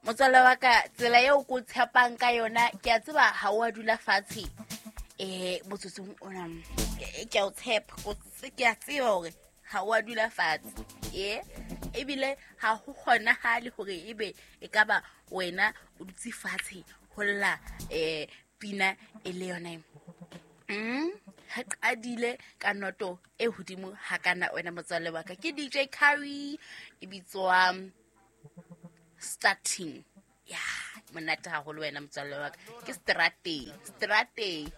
Motswalle wa ka, tsela eo ko tshepang ka yona, ke a tseba ha o a dula fatshe motsotsong ona. Ke a o tshepa, ke a tseba hore ha o a dula fatshe. Ebile ha ho kgonahale hore ebe e ka ba wena o dutse fatshe ho lla pina e le yona. Re qadile ka noto e hodimo hakana wena motswalle wa ka. Ke DJ Curry, e bitswa Starting. Ya, monate haholo wena motswalle wa ka. Ke strateng, strateng.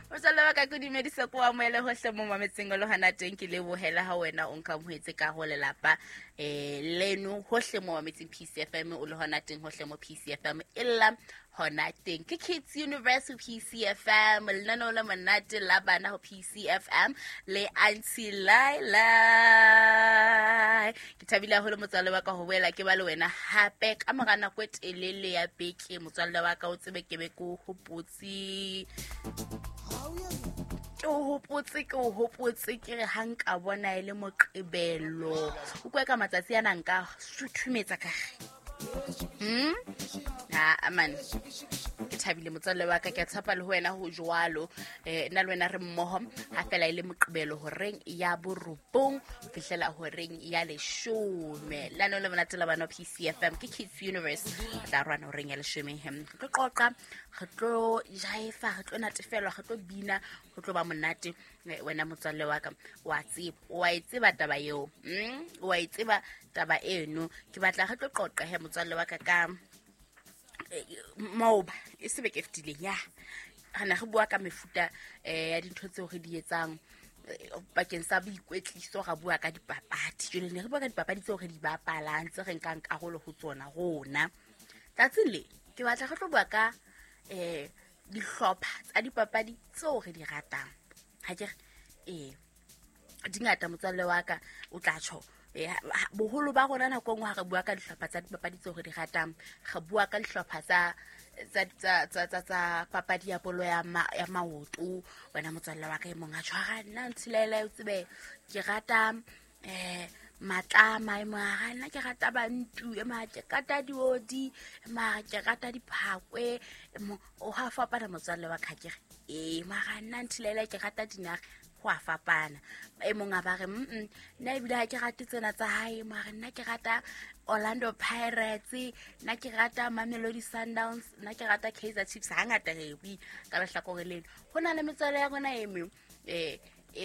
Motswalle wa ka, ke dumedise ko amohele hohle mo mametseng o le hona teng. Ke lebohela ha wena o nkamohetse ka ho lelapa leno hohle mo mametseng PCFM o le hona teng, hohle mo PCFM e lla hona teng. Ke Kids Universe ho PCFM, lenaneo le monate la bana ho PCFM le Auntie Laila. Ke thabile haholo motswalle wa ka ho boela ke ba le wena hape ka mora nako e telele ya beke. Motswalle wa ka, o tsebe ke be ke o hopotse, ke o hopotse, ke o hopotse, ke re ha nka bona e le Moqebelo, o kwe ka matsatsi ana nka suthumetsa ka re. Ha man, ke thabile motswalle wa ka, ke a tshepa le ho wena ho jwalo. Nna le wena re mmoho ha fela e le Moqebelo horeng ya 9 ho fihlela horeng ya 10. Lano le monate la bana PCFM ke Kids Universe. Re tla rwana horeng ya 10 he. Re tlo qoqa, re tlo jaefa, re tlo natefelwa, re tlo bina, ho tlo ba monate. Wena motswalle wa ka, wa tseba, wa e tseba taba eo. Wa e tseba taba eno. Ke batla re tlo qoqa he motswalle wa ka ka maoba e se beke e fetileng ya re ne re bua ka mefuta ya dintho tseo re di etsang bakeng sa boikwetliso. Ra bua ka dipapadi, jwale ne re bua ka dipapadi tseo re di bapalang, tse re nkang karolo ho tsona rona. Tsatsing le ke batla re tlo bua ka dihlopha tsa dipapadi tseo re di ratang. Ha ke re di ngata motswalle wa ka, o tla tjho boholo ba rona nako nngwe ha re bua ka dihlopha tsa dipapadi tseo re di ratang, re bua ka dihlopha tsa papadi ya bolo ya maoto. Wena motswalle wa ka, e mong a tshwara nna ntshilaela, o tsebe ke rata Matlama, e mong a re nna ke rata Bantu, e mong ke rata Diodi, e mong ke rata Diphakwe, e mong o ha fapana motswalle wa ka. Ke re mara nna ntshilaela ke rata Dinare, ho a fapana. E mong a ba re nna ebile ha ke rate tsena tsa hae, mara nna ke rata Orlando Pirates, nna ke rata Mamelodi Sundowns, nna ke rata Kaizer Chiefs. Hangata re bui ka lehlakore leno. Ho na le metswalle ya rona e meng e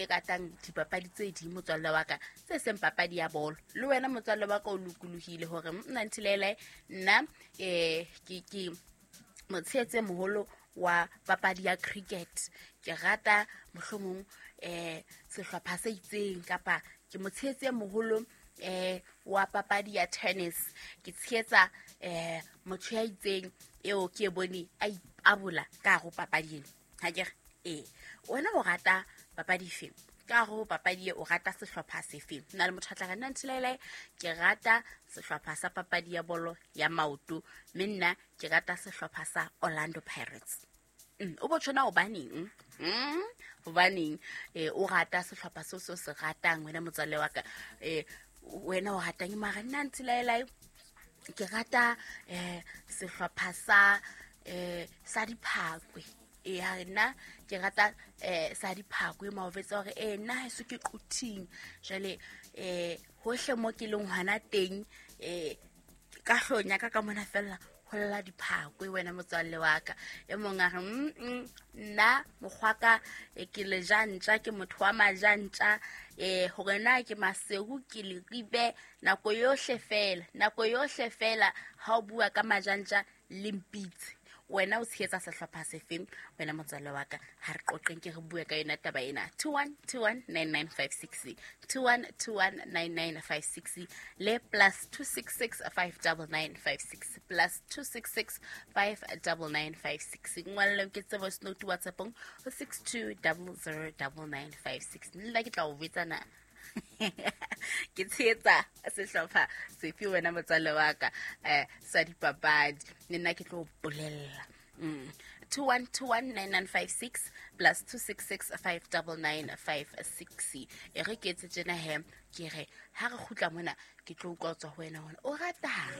ratang dipapadi tse ding motswalle wa ka, tse seng papadi ya bolo. Le wena motswalle wa ka o lokolohile hore nna nthilele nna ke motshehetse moholo wa papadi ya cricket, ke rata mohlomong sehlopha se itseng, kapa ke motshehetse moholo wa papadi ya tennis, ke tshehetsa motho ya itseng eo ke e bone a ipabola ka hare ho papadi ena. Ha ke re wena o rata papadi efe ka hare ho papadi e, o rata sehlopha sefe? Nna le motho a tla re nna ntshilaelae ke rata sehlopha sa papadi ya bolo ya maoto, mme nna ke rata sehlopha sa Orlando Pirates. O bo tshwana hobaneng? Hobaneng o rata sehlopha seo se se ratang wena motswalle wa ka? Wena o ratang? Mara nna ntshilaelae ke rata sehlopha sa Diphakwe. Ha nna ke rata sa Diphakwe, maobetsa hore nna haeso ke Quthing. Jwale hohle mo ke leng hona teng ka hloohong ya ka ka mona fella ho lla Diphakwe wena motswalle wa ka. E mong a re nna mokgwaka ke lejantja, ke motho wa majantja, hore na ke Maseru ke Leribe, nako yohle fela, nako yohle fela ha o bua ka majantja le mpitse. Wena o tshehetsa sehlopha sefeng wena motswalle wa ka? Ha re qoqeng, ke re bue ka yona taba ena. 21219956, 21219956 le +266 59956, +266 59956. Ngwalle ke tse voice note WhatsAppong ho 62009956. Nna ke tla o betsana ke tshehetsa sehlopha sefe wena motswalle wa ka sa dipapadi, le nna ke tlo bolella. 21219956 +266 59956. E re ke etse tjena he, ke re ha re kgutla mona ke tlo utlwa ho tswa ho wena hore o ratang.